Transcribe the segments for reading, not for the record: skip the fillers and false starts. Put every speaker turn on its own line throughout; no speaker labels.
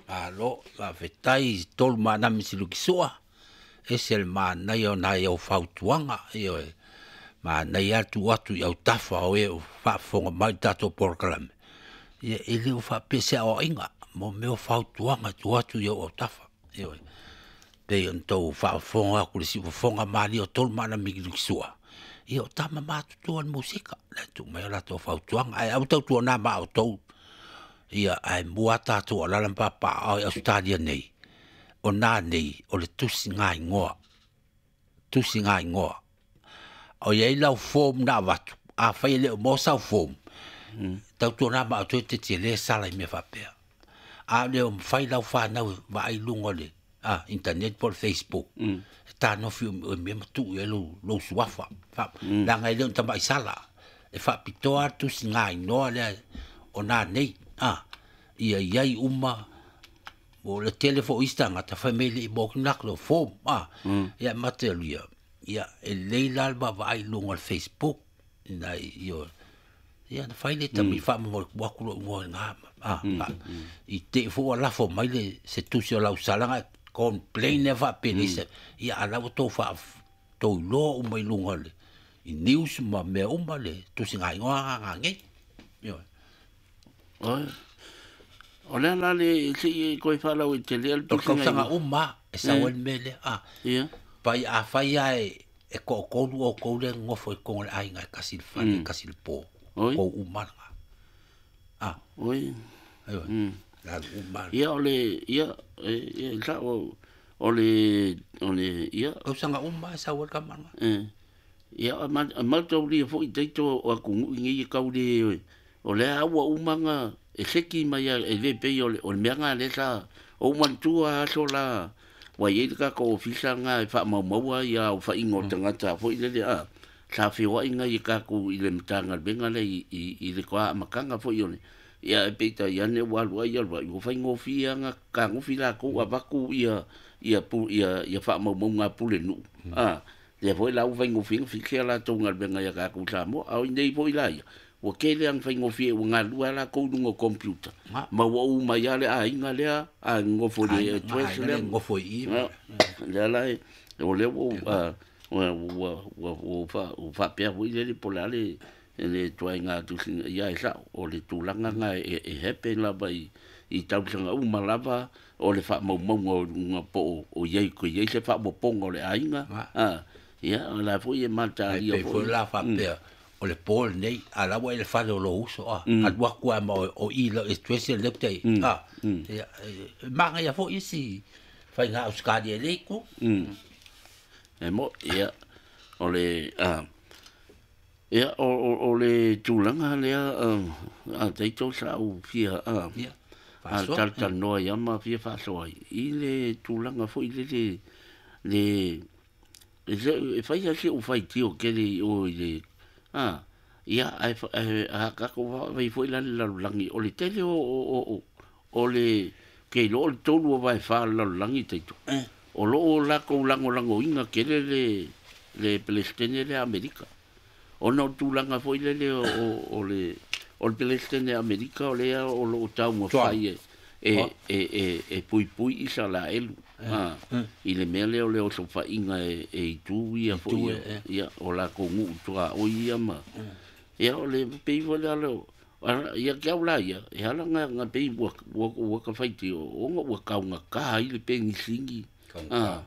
Malo, faafetai tolu manami silukisua, ese le manaia o nai au fautuaga, ioe, manaia lava le tuu atu i autafa o e o faafofoga mai i le tatou polokalame, ia e le o faapea se aoaiga mo mea o fautuaga e tuu atu i ou autafa, ioe. Pei ona outou faafofoga atu i le siufofoga malie o tolu ma ana Mikilikisua, ia o tama matutua o le musika, la e tuu mai a latou fautuaga. Ae aua tautuana ma outou, ia ae mua tatou alaala ma papaaao i Ausetalia nei, o na nei, o le tusigaigoa, tusigaigoa. O i ai lau form na avatu, afai e le o maua sau form, tautuana ma outou e te tele sala i mea faapea. A le o mafai lau fanau e vaai i luga o le internet po o le Facebook, e tanofi o mea ma tuu i ai lou suafa. Leaga e le o ni tamai sala, e faapitoa lava le tusigaigoa lea o na nei, ia i ai uma. O le tele foi o isi tagata fai mai e le i maua atu ni form, ia mate alu ia, ia e lelei la le vaavaai i luga o le Facebook, ina ia ia na fai le tami faamomoli atu lou igoa i na, i te i foi ua lafo mai le se tusi o lau salaga complain lea faapelei se, ia a la ua tou tou iloa uma i luga o le i news ma mea uma le tusigaigoa nga nei. Ioe.
Oi. O le ala le se i koe whalau i te lea le
O le tausaga uma e sau ai le mea lea.
Ia.
Pai a fai lava e toatolu outou lea e nonofo i totonu o le aiga e tasi le fale, e tasi le po.
Oi.
Tou uma lena.
Oi.
Ioe. Le alu uma.
Ia o le, ia, ia, i sao, o le, o le, ia.
Tausaga uma e sau ai le tama lena.
Ia, a mautaulia foi teito o atunuu nei e tau le, o lea ua uma na e seki mai a, e le pei o le, o le mea ngā le sa, o umantua aso la, ua i ai le tatou ofisa ngā e faamaumaua ia au whainga o tangata foi lele a, sa whioai ngā i tatou i le matagaluega le i le koa amakanga foi o le, ia e peita i ane ua alu ai alu ai, ua faigofie ngā kagofi lākou avatu ia, ia pu, ia, ia faamaumaunga pule nuu. Lea foi la ua faigofie na fikia lātou galuega ia tatou Samoa, a o inei foi la ia, ua tele ang faigofie ua galua lākou i luga o computer. Ma ua uma ia le aiga lea, a nofo i le
Aiga,
address
aiga
lea.
le nofo i i.
Lea la e, o lea ua, ua, ua, ua, ua, ua, ua faapea foi lele po o le a le, le tuaiga tusiga, ia e sao, o le tulaga ngā e happen lava i tausaga uma lava, o le faamaumauga o luga po o, o iai, ko iai se faaopoopoga o le aiga. Ia, o la foi e matalia
Ai, pei foi la faapea, o le po lenei, a la ua i le fale o lou uso, alu atu lava ma o i lau address le te, ia, e manaia foi isi faiga Ausetalia i le itu.
E mo, ia, o le, ia, o, o, o le tulaga lea, a teito sa u fia,
Ia,
a
faasoa.
talanoa ia ma fia faasoa ai. I le tulaga foi le, le, le, e se, e fai a se u fai tio kele i o i le, ia, ai fa, ai, a ka ko va, vai foi la le lalolagi, o le tele o, o, o, o, o le, ke lo o le tolu o vai fa le lalolagi teito. O lo o la kou langolango inga kele le, le Palestine le Amerika. O na o tulaga foi le le o, o, o le, o le Palestine Amerika o le a o lo o tau ma
Tuau.
fai e, e, e, e, e pui pui i sa la elu. I le mea lea o le osofainga e, e i tu ia
I
foi
tu
ia,
e, e.
ia, o la kou nuu tua o ia ma. Ia, o le pei foi lea le o, ala, ia ke au la ia, e ala nga, nga pei ua, ua, ua ka whai te o, o nga ua kaunga ka i le pengisingi.
Kaunga.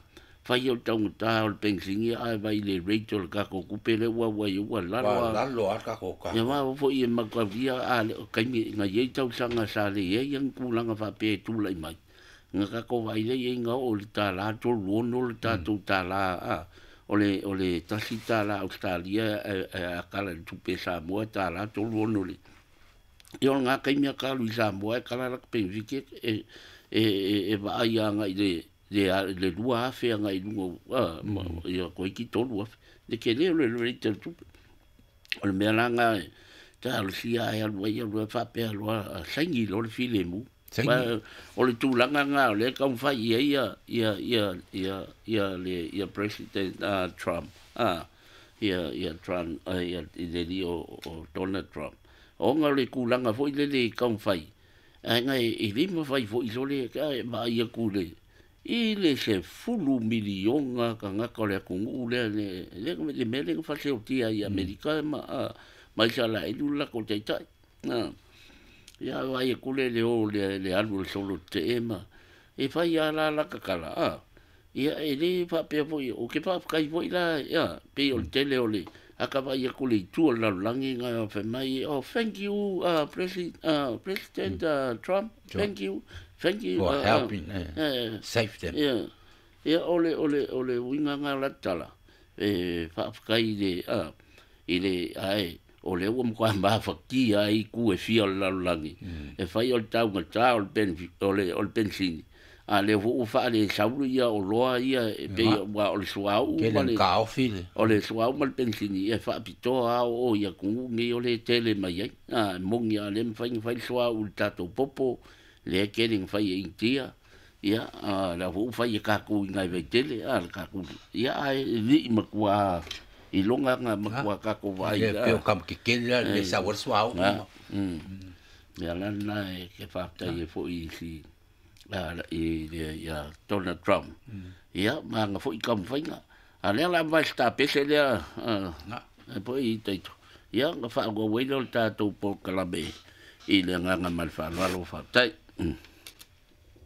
Whai o taunga tā o le pengisingi, ai vai le rate o le kako kupe le ua ua i ua lalo
Ua
a.
lalo a kako ka.
Ia wā foi e makauria, a le, o kaimi, nga iei tausanga sa le iei ang kulanga whapea e tūlai mai. Nga kako vai le iei nga o le tā la tolu ono le tātou tā la, o le, o le tasi tā la Australia, e, e, a kala le tupe Samoa, tā la tolu ono le. Ia o ngā kaimi a kalu i Samoa, e kala laka penfike, e, e, e, e vaai a ngai le, le, a, le lua afe a ngai lunga, ma, ia koe ki tolu afe. Le ke leo le le te tupe. O le mea la ngā, tā alu sia ai alu ai alu ai whapea alu a, a saingi lo le file mu.
Saingi.
Ba, o le tūlanga ngā, o le kaumwhai ia, ia, ia, ia, ia, ia, le, ia President, Trump. Ia, ia Trump, ia, i le li o, o Donald Trump. O ngā le kūlanga foi le le kaumwhai. Ae ga e le mafai fo'i sole e vaai atu le i le 10 miliona tagata o le atunu'u lea le le mea lea na faaseotia i Amerika ma ma Isalaelu le latou taita'i ia vaai atu le le o le le alu o le solo te'e ma e fai a la lata tala ia e lē faapea foi ou te faafetai foi la ia pei o le tele o le ata vaai atu le itu o le lalolagi na fai mai, "Oh, thank you, President Trump, thank you, thank you
for helping save them."
Ia o le uiga na la tala e faafetai i le i le ae o lea ua matua mafatia ai itu e fia o le lalolagi e fai o le taugatā o le pen o le penisini a lea foi ua faalesaulu ia oloa ia e pei ua o le suauu
ma le kaofi le
o le suauu ma le penisini e faapitoa a o i atunuu nei o le tele mai ai a moni a le mafai ona fai le suauu i le tatou popo lea tele na fai e Initia ia a la foi ua fai e tatou i nai vaitele a le tatou ia ae li'i matua iloga na matua tatou vaai
le peo kam ke kele la le sa war suauu.
Mea la lena e ke faafetai ai foi i si i le ia Donald Trump ia ma aga foi taumafaiga a lea la vai tapese lea e po i taito ia na faaauau ai lea o le tatou polokalame i le agaga ma le faaaloalo. Faafetai.